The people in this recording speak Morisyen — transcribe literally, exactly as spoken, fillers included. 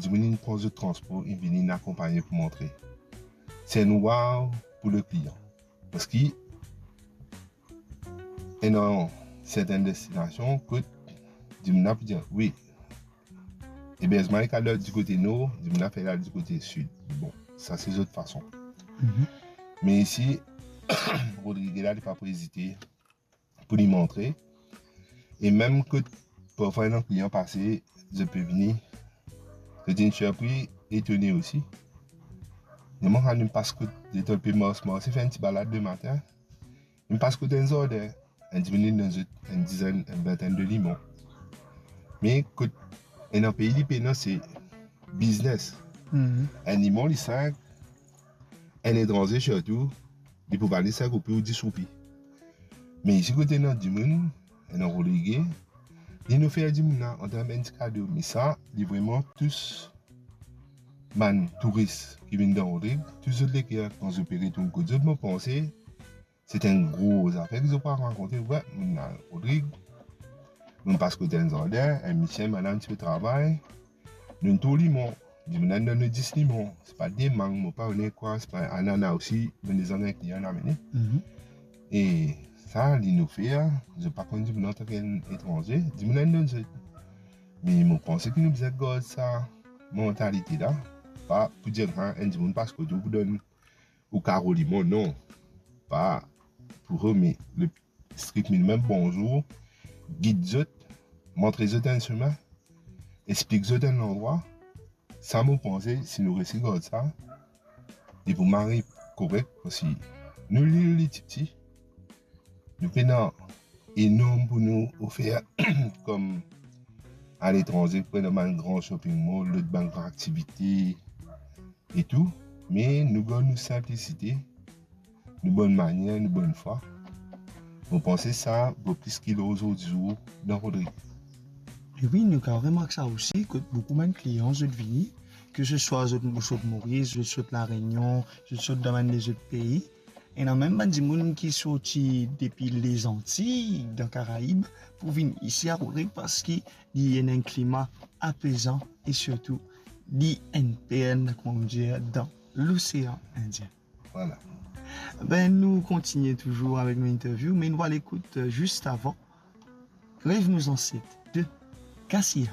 dimoun inn pran zot transpor, inn vini, inn akonpagne pou montre. Se enn wow pou le klian. Parski ena sertenn destinasion kot dimoun la pou dir, wi, eberzman li kapav al di kote nor, dimoun la fer al di kote sid. Bon, sa se zot fason. Mhm. Me isi, Rodrigue la, li pa pou ezite pou li montre. E mem kot parfwa enn klian pase, zot pe vini, zot inn sirpri, etone osi. Mwa, kan nou pas kot, letan nou pe mars, marse, fer enn ti balad lematin, nou pas kot enn zardin, enn dimoun inn donn zot enn dizenn, enn vintenn de limon. Me kot ena pei li pena, se biznes. Mhm. Enn limon, li sink, enn etranze sirtou, li pou vale sink roupi ou dis roupi. Me isi kot ena dimoun, ena Rodrigue, li inn ofer dimoun la antan enn ti kado. Me sa, li vreman tous bann touris ki vinn dan Rodrigue, tous zot leker, kan zot pe retourn kot zot, mo panse, se enn gro zafer ki zot pou rakonte. Wi, nou ena Rodrigue, nou pas kot enn zardin, enn misie, madam ti pe travay, nou inn tour limon, dimoun la inn donn nou dis limon, se pa de mang, mo pa kone kwa, se pa anana osi, me lezot enn klian inn amene. Mhm. E sa, li inn ofer, zot pa konn dimoun la antan ki enn etranze, dimoun la inn donn zot. Me mo panse ki nou bizin gard sa mantalite la, pa pou dir, ha, enn dimoun pas kot ou pou donn ou karo limon, non. Pa pou rod, me le strikt minimem, bonzour, gid zot, montre zot enn semin, explik zot enn landrwa. Sa mo panse, si nou resi gard sa, li pou mari korek, parski nou lil li tipti, nou pena enorm pou nou ofer kom aletranze, pran dan bann gran shopping mall, lot bann gran aktivite e tou, me nou gard nou sinplisite, nou bonn manier, nou bonn fwa. Mo panse sa vo plis ki lor zordi zour dan Rodrigue. E wi, nou kapav remark sa osi, kot boukou bann klian zot vini, ke se swa zot, zot sot Moris, zot sot La Rényon, zot sot dan bann lezot pei, ena mem bann dimoun ki sorti depi Lezantiy, dan Karaib, pou vinn isi a Rodrigue, parski li ena enn klima apezan e sirtou li enn perl, kouma nou dir, dan losean Indien. Vwala. Be, nou kontinie touzour avek nou interview, me nou al ekout, euh, zis avan, Rêve nos ancêtres de Kassiya.